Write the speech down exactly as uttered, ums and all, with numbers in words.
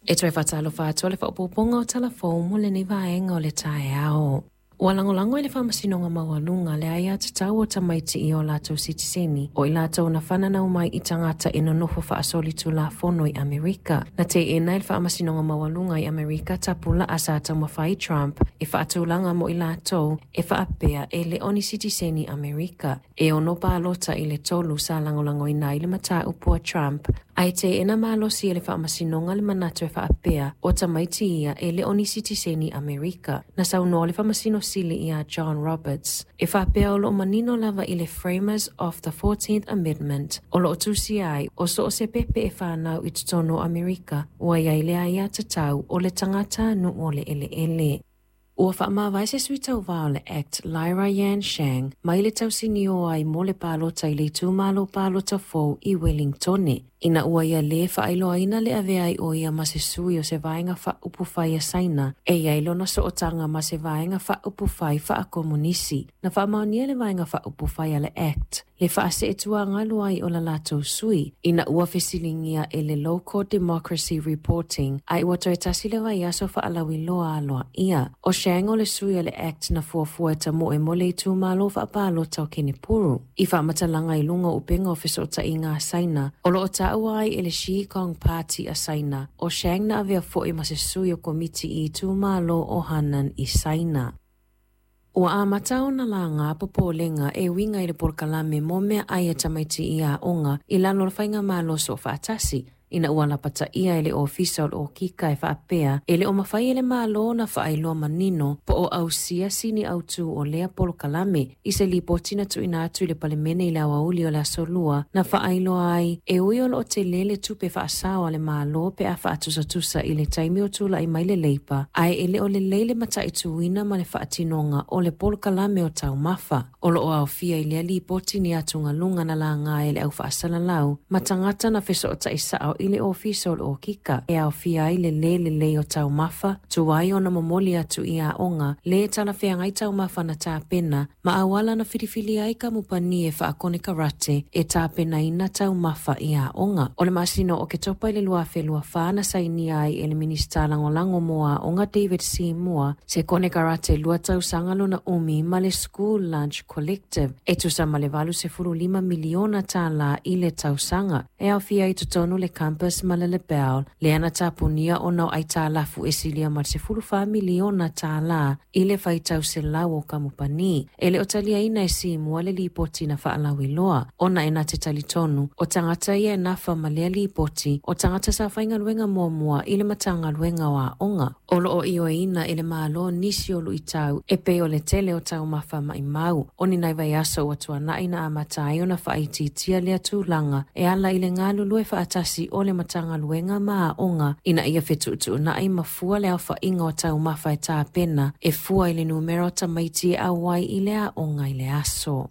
E toe faatalofa atu le faaopoopoga o Tala Fou mo lenei vaega o le taeao. Ua lagolago e le Faamasinoga Maualuga le aiatatau o tamaiti i o latou sitiseni o i latou na fananau mai i tagata e nonofo faasolitulafono i Amerika. Na teena e le Faamasinoga Maualuga i Amerika tapulaa sa taumafai Trump e faatulaga mo i latou e faapea e le o ni sitiseni Amerika. E ono palota i le tolu sa lagolagoina ai le mataupu a Trump, ae teena malosi e le Faamasinoga le manatu e faapea o tamaiti ia e le o ni sitiseni Amerika. Na saunoa le Faamasino Sili ia John Roberts e faapea o loo manino lava i le Framers of the fourteenth Amendment o loo tusia ai o so o se pepe e fanau i totonu o Amerika ua iai le aiatatau o le tagatanuu o le eleele. Ua faamavae se sui tauvā o le ACT Lyra Yan Shang mai le tausinio ai mo le palota i le itumalo palota fou i Wellingtone. Ina ua ia lē faailoaina le avea ai o ia ma se sui o se vaega faaupufai a Saina e iai lona sootaga ma se vaega faaupufai faakomunisi. Na faamaonia le vaega faaupufai a le ACT le faaseetuagalu ai o la latou sui ina ua fesiligia e le Local Democracy Reporting ai ua toe tasi le vaiaso faalauiloa aloaia. O Shang o le sui o le ACT na fuafua e tamoe mo le itumalo faapalota o Kenepuru. I faamatalaga i luga o upega o fesootaiga a Saina o loo taua ai e le Xi Kong Party a Saina, o Shang na avea foi ma se sui o komiti i itumalo o Hanan i Saina. Ua amata ona laga popolega e uiga i le polokalame mo meaai a tamaiti i aoga i lalo o le faigamalo soofaatasi, ina ua lapataia e le ofisa o le okika e faapea e le o mafai e le Malo na faailoa manino po o ausia sini autū o lea polokalame. I se lipoti na tuuina atu i le Palemene i le aoauli o le aso Lua na faailoa ai e ui o loo tele le tupe faasao a le Malo pe a faatusatusa i le taimi o tula'i mai le Leipa, ae e le o lelei le mataituina ma le faatinoga o le polokalame o taumafa. O loo aofia i lea lipoti ni atugaluga na laga e le au faasalalau ma tagata na fesootai sao i le ofisa o le okika e aofia ai le lē lelei o taumafa tuai ona momoli atu i aoga lē talafeagai taumafa na tapena ma auala na filifili ai kamupani e faakonekarate e tapenaina taumafa i aoga. O le masina o Oketopa i le lua afe lua fa na sainia ai e le Minista Lagolago mo Aoga David Seymour se konekarate lua tausaga lona umi ma le School Lunch Collective e tusa ma le valu sefulu lima miliona tālā i le tausaga e aofia i totonu le campus ma le Lebel lea na tapunia ona o aitalafu e silia ma le sefulu fa miliona tālā i le faitau selau o kamupani. E le o taliaina e Seymour le lipoti na faalauiloa ona e na te talitonu o tagata ia e nafa ma lea lipoti o tagata sa faigaluega muamua i le Matagaluega o Aoga. O loo ioeina e le Malo nisi o luitau e pei o le tele o taumafa maimau. O ni nai vaiaso ua tuanai na amata ai ona faaitiitia lea tulaga e ala i le galulue faatasi o le Matagaluega ma aoga ina ia fetuutuunai ma fua le aofaiga o taumafa e tapena e fua i le numera o tamaiti e auai i le aoga i le aso.